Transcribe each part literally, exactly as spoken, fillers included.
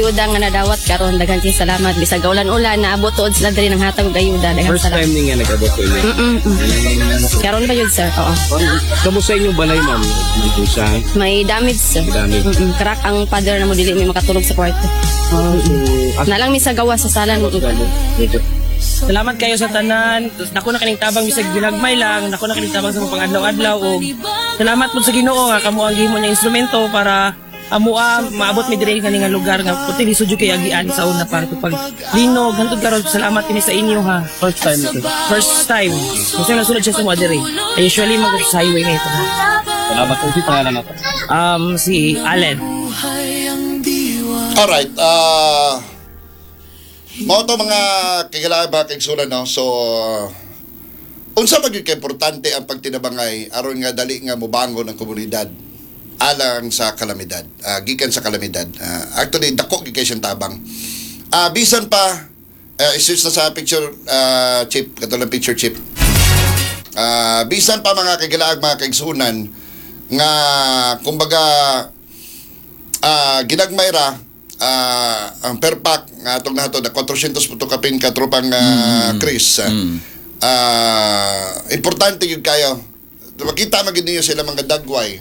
Ayuda nga nadawat karon, daghan kay salamat, bisag ulan-ulan naabot tuod sila diri ng hatag og ayuda. Daghan First salamat. Time ni nga nag-abot ko inyo. Mm, mm. Karon pa yun, sir. Oo. Kamo sa inyong balay, ma'am? Dito siya. May damage, sir. May damage. Mm-mm. Crack ang pader na mo, dili may makatulog sa kwarto. So, as Na lang mi sa gawa sa sala. Dito. Salamat kayo sa tanan. Dako na kaning tabang bisag ginagmay lang. Dako na kaning tabang sa mga pangadlaw-adlaw og salamat pud sa Ginoo nga kamo ang gihimo niya instrumento para amua maabot mi diri kani nga lugar nga puti lisod jud kay agian sa una pa pag linog hantod karon. Salamat kini sa inyo, ha. First time ito. First time kasi nasulod siya sa mga diri. Ay, usually mag sa highway nga ito. Salamat po. Si pangalan nato. Um si Allen. Alright, ah mao to, mga kailangan ba kaigsunan, no? So unsa man gyud ka importante ang pagtinabangay aron nga dali nga mobangon ang komunidad alang sa kalamidad, ah, gikan sa kalamidad. Ah, actually dako gyud kay siyang tabang. Ah, bisan pa uh, i-switch na sa picture, ah, chip, katong picture chip. Ah, bisan pa, mga kagilaag, mga kaigsunan, nga kumbaga ah ginagmay ra ah, ang per pack nga atong nahatod na four hundred puto kapin, katropang uh, Chris. Ah, ah, importante gyud kayo makita man gyud ninyo sila mga dagway.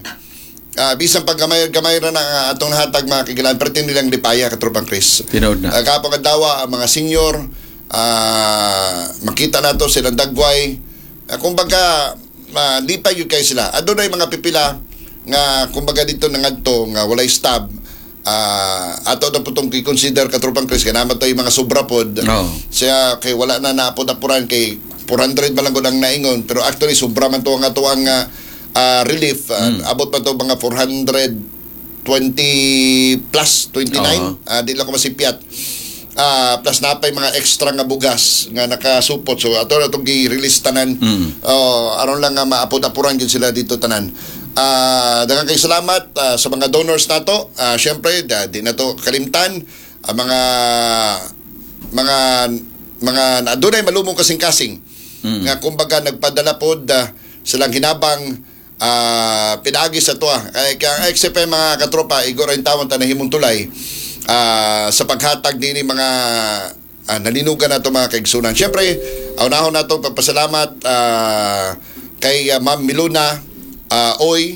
Ah, bisan pag gamay gamay ra na nga atong nahatag, mga kagilaan, perti nilang lipaya, katropang Chris. Tinuod na. Uh, kapag adlaw ang mga senior, ah, makita nato silang dagway. Uh, kumbaga uh, lipay gyud kayo sila. Adunay mga pipila nga kumbaga dito nangadto nga walay stab. Ah, ato na po itong i-consider, katropang Chris, kay naman to yung mga sobra pod. Oo. Siya kay wala na naapod-apuran kay four hundred man lang gud ang naingon, pero actually sobra man to ang ato ang ah, ah, relief. Ah, abot pa to mga four hundred twenty plus twenty-nine. Oo. Ah, di lang ko masipyat. Ah, plus napay mga extra nga bugas nga nakasupot. So ato na itong gi-release tanan. Mm. Oh, aron lang nga maapod-apuran gyud sila dito tanan. Ah, daghang kay salamat ah, sa mga donors nato. Ah, syempre, da, di na to kalimtan ang mga mga mga adunay malumong kasing-kasing Mm. nga kumbaga nagpadala pod ah, silang hinabang ah, pinaagi sa tuwa. Kay kaya ang X F M, mga katropa, igor ang tawon ta nahimong tulay ah, sa paghatag nini mga ah, nalinugan nato, mga kaigsunan. Syempre, unahon nato pagpasalamat ah, kay ah, Ma'am Miluna ah, Oy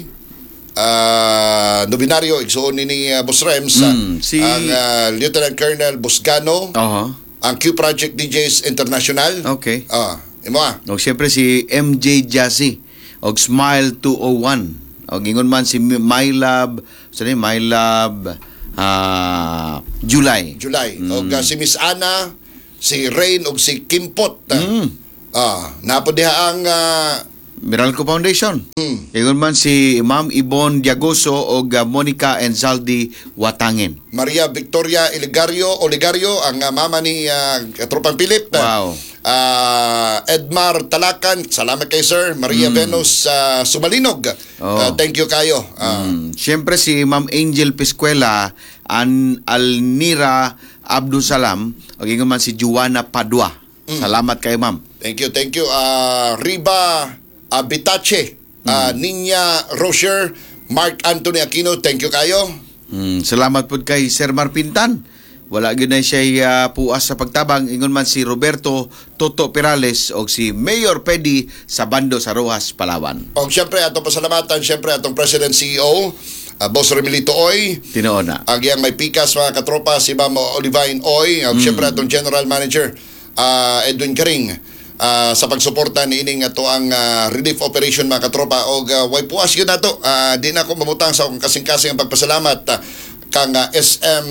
uh, Novenario, igsuon ni ni uh, Boss Rems, ah, Mm, si- ang ah, Lieutenant Colonel Buscano, Oho. ang Q Project D Js International. Okay. Ah, imo ah. O siyempre si M J Jassy og Smile two oh one. Og ingon man si My Love, sorry, My Love ah, July. July. Og uh, si Miss Ana, si Rain og si Kimpot. Mm. Ah, napo diha ang ah, Meralco Foundation. Mm. Ingon man si Ma'am Yvonne Diagoso og ah, Monica and Zaldi Watangin. Maria Victoria Oligario, Oligario ang ah, mama ni uh, Katropang Philip. Wow. Ah, Edmar Talakan, salamat kay sir. Maria Venus ah, Sumalinog. Oh. Ah, thank you kayo. Ah, Mm. Siyempre si Ma'am Angel Piscuela, An Alnira Abdusalam, og ingon man si Juana Padua. Salamat kay ma'am. Thank you, thank you. Ah, Riba Abitache, ah, Ninya Rocher, Mark Anthony Aquino, thank you kayo. Mm, salamat pud kay Sir Marpintan. Wala gyud na siya uh, puas sa pagtabang. Ingon man si Roberto Toto Perales og si Mayor Pedi sa Bando sa Rojas, Palawan. O siyempre, atong pasalamatan, siyempre, atong President C E O, ah, Boss Remilito Oy, Tinuod na. ang iyang may pikas, mga katropa, si Ma'am Olivine Oy, mm. siyempre atong General Manager, ah, Edwin Karing, ah, sa pagsuporta ni ining ato ang ah, relief operation, mga katropa, og uh, way puas yun nato. Ah, di na ako mamutang sa akong kasing-kasing ang pagpasalamat ah, kang ah, S M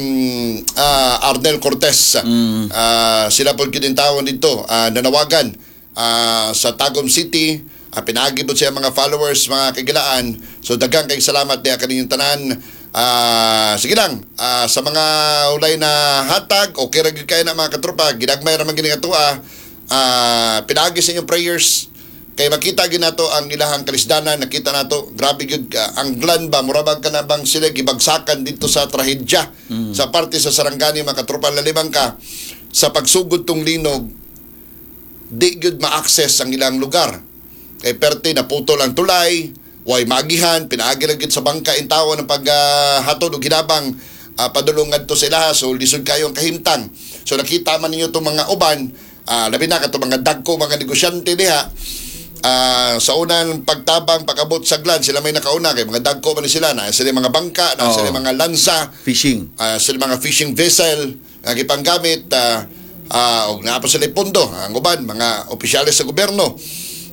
ah, Arnel Cortez. Ah, sila po gyud tawon dito ah, nanawagan ah, sa Tagum City. Uh, pinaagi po siya mga followers, mga kagilaan. So daghang kay salamat diha kaninyong tanan. Ah, sige lang, ah, sa mga ulay na hatag, okay ra gyud kayo na, mga katropa, ginagmay ra man gini nga tuwa. Ah, pinaagi sa inyong prayers kay makita gyud nato ang ilahang kalisdanan, nakita nato, grabe gyud ah, ang glan ba, mura bang kana bang sila gibagsakan dito sa trahedya sa parte sa Sarangani, mga katropa. Lalibang ka sa pagsugod tong linog, di gyud ma-access ang ilang lugar. Kay perte naputol ang tulay, way magihan, pinaagi ra gyud sa bangka in tawo ng paghatod og hinabang. uh, padulong ngadto sila, so lisod kayo ang kahimtang. So nakita man ninyo itong mga uban, ah, labi na katong mga dagko mga negosyante diha. Ah, sa unang pagtabang pag-abot sa Glan, sila may nakauna kay mga dagko man ni sila na sila mga bangka, na Oo. sila mga lansa, Fishing. uh, sila mga fishing vessel nga gipanggamit, uh, uh, og naa pa sila pondo ang uban mga opisyales sa gobyerno.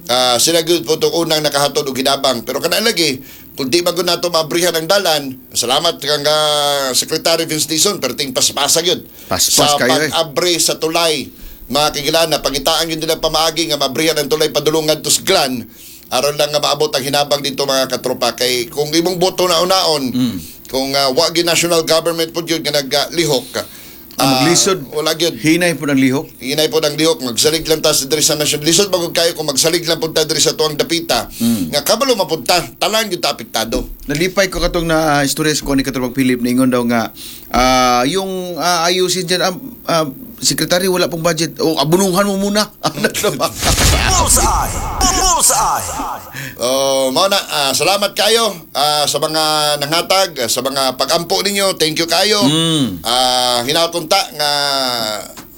Ah, sila gyud po itong unang nakahatod og hinabang, pero kana lagi kung di man gud nato maabrihan ang dalan. Salamat kang uh, Secretary Vince Dizon, perting paspasa gyud Paspas sa kayo eh. pag-abre sa tulay, mga kagilan, na pangitaan yun nila pamaagi nga mabrihan ang tulay padulungan to Glan aron lang nga maabot ang hinabang dito, mga katropa, kay kung imong boto na unaon Mm. kung uh, wa gyud national government po yun nga naglihok. Ang maglisod. Wala gyud. Hinay po ng lihok. Hinay po ng lihok, magsalig lang ta sa diri sa national. Lisod magud kayo kung magsalig lang punta diri sa tuang dapita. Mm. Nga kabalo mapunta, talang gyud ta apektado. Nalipay ko katong na istorya sa kuha ni Katropang Philip na ingon daw nga ah, yung ah, ayusin dyan, ah, ah, sekretary, wala pong budget o abunuhan mo muna. Bullseye! Bullseye! Oh, mao na, ah, salamat kayo ah, sa mga nanghatag, ah, sa mga pagampo ninyo. Thank you kayo. Mm. Ah, hinaot unta nga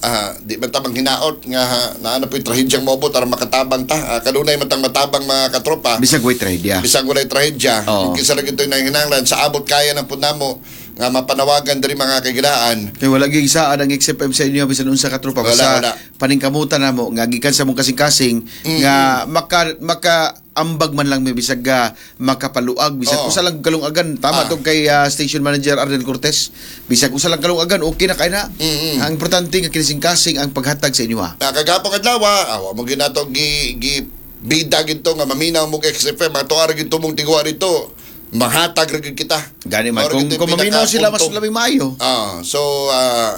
ah, di man ta manghinaot nga na ano po yung trahedyang moabot aron makatabang ta. Ah, kanunay man tang matabang, mga katropa. Bisag way trahedya. Bisag walay trahedya. Oo. Kinsa ra gyud nanghinanglan sa abot kaya ng punamo nga mapanawagan diri, mga kagilaan. Kay wala gyud isaad ang X F M sa inyo bisan unsa ka tropa. Wala, Basta wala. paningkamutan namo nga gikan sa mong kasing-kasing nga maka maka ambag man lang may bisag ga makapaluag bisag Oo. usa lang kalungagan, tama Ah. tong kay ah, station manager Arnel Cortez, bisag usa lang kalungagan, okay na kay na. Mm-mm. Ang importante nga kinising-kasing ang paghatag sa inyo ha. Na kagapong adlaw, awa mo ginato gi gi bida gito nga maminaw mo kay X F M, ato ara gito mong tiguan dito. Mahatag ra gyud kita. Gani man Mao ra kung gyud kung maminaw sila mas pinakapunto. labing maayo. Ah, so ah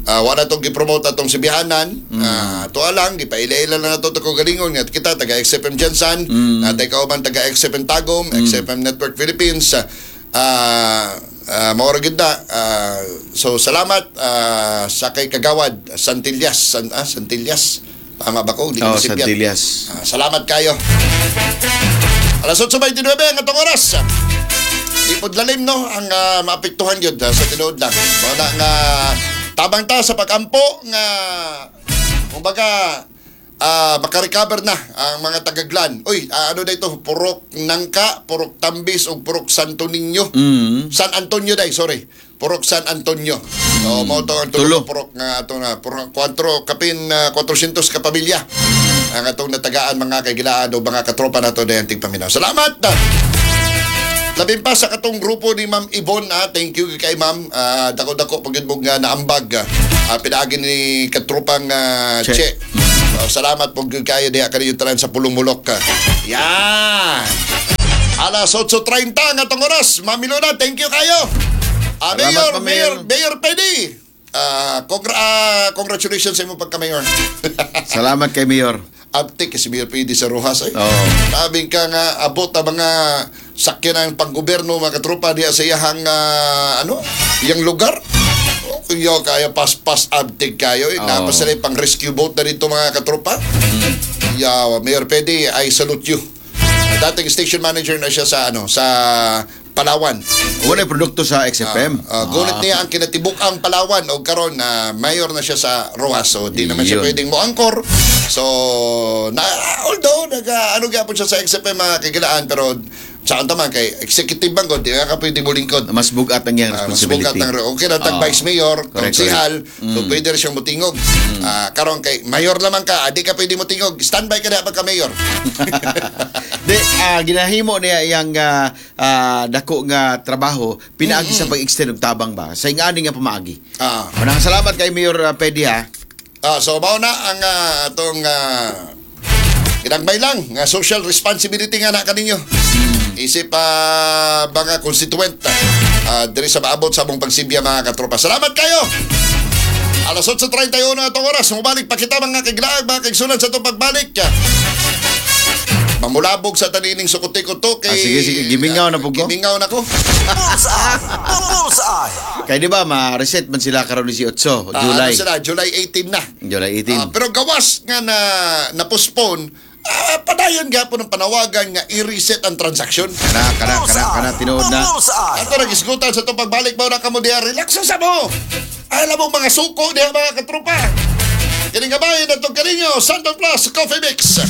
ah, wala tong gi-promote atong sibihanan. Mm. Ah, tuwa lang gipaila-ila lang nato to galingon nga kita taga X F M GenSan, Mm. mm. taga kauban taga X F M Tagum, X F M Network Philippines. Ah, uh, mao ra gyud na. Ah, so salamat ah, sa kay Kagawad Santillas, San, ah, Santillas. Tama ba ko? Di ko Oh, masipyat. Santillas. Ah, salamat kayo. Alas otso bentisinuebe ang atong oras. Ipod lalim no ang ah, maapektuhan gyud ah, sa tinuod lang. Mao na nga tabang ta sa pagampo nga kumbaga ah, makarecover na ang mga tagaglan. Uy, ah, ano na ito? Purok Nangka, Purok Tambis ug Purok Santo Niño. Mm. San Antonio day, sorry. Purok San Antonio. So, mao to ang Tulo. tulo purok nga ato na purok kuwatro kapin ah, kuwatrosentos ka pamilya ang atong natagaan, mga kaigilaan o mga katropa nato dayan tigpaminaw. Salamat! Labin pa sa katong grupo ni Ma'am Yvonne, ah, thank you kay Ma'am. Ah, dako-dako pag mo nga naambag. Ah, pinaagi ni katropang ah, Che. Che. So, salamat po gyud kayo diha kaniyo tanan sa Pulong Mulok. Yan. Alas otso trenta ang atong oras. Ma'am Milona, thank you kayo. Ah, Salamat, Mayor, Ma'am Mayor, Mayor. Mayor Penny. Ah, congra- ah, congratulations sa imong pagka-mayor. Salamat kay Mayor. Abtik kasi Mayor Pidi sa Rojas ay. Oo. Sabing ka nga abot ang mga sakyan ng panggobyerno, mga katropa, diya sa iyahang ah, ano, iyang lugar. Oh, iyo kaya paspas abtik kayo. Eh. Oo. Napa sila yung pang rescue boat na dito, mga katropa. Yeah, Mayor Pedi, I salute you. Dating station manager na siya sa ano sa Palawan. Wala produkto sa X F M. Uh, gulit niya ang kinatibuk ang Palawan o karon na mayor na siya sa Rojas. So di naman siya Yun. pwedeng mo angkor. So na although nag ano gyapon siya sa X F M, mga kagilaan, pero sa taman kay executive bang di ka pwede mo lingkod. Mas bugat ang iyang Ah, mas responsibility. bugat ang okay na tag Oo. vice mayor, Correct, konsehal, correct. Mm. so pwede rin siyang mutingog. Ah, karon kay mayor lamang ka, ah, di ka pwede mutingog. Standby ka na pagka mayor. Di, ah, ginahimo niya iyang ah, ah, dako nga trabaho pinaagi sa pag-extend og tabang ba sa ingani nga pamaagi. Ah. Manang salamat kay Mayor ah, Pedi ha. Ah, so mao na ang ah, atong uh, ginagmay lang nga social responsibility nga na kaninyo. Isip pa mga constituent uh, diri sa maabot sa among pagsibya, mga katropa. Salamat kayo. Alas otso trenta y uno atong oras. Mubalik pa kita, mga kaglaag, mga kaigsunan, sa itong pagbalik. Mamulabog sa tanining sukuti-kuto kay Ah, sige, sige. Gimingaw na po ko. Gimingaw na ko. Bullseye! Bullseye! Kay di ba ma-reset man sila karon labing otso Ah, July. ano sila, July eighteen na. July eighteen. Ah, pero gawas nga na na-postpone Ah, padayon gapon ang panawagan nga i-reset ang transaksyon. Kana kana kana kana tinuod na. Bullseye! Ato nang isgutan sa itong pagbalik mo na kamo diha. Relax sa mo. Alam mo mga suko diha, mga katropa. Kining kabayan atong kaninyo, Santo Plus Coffee Mix.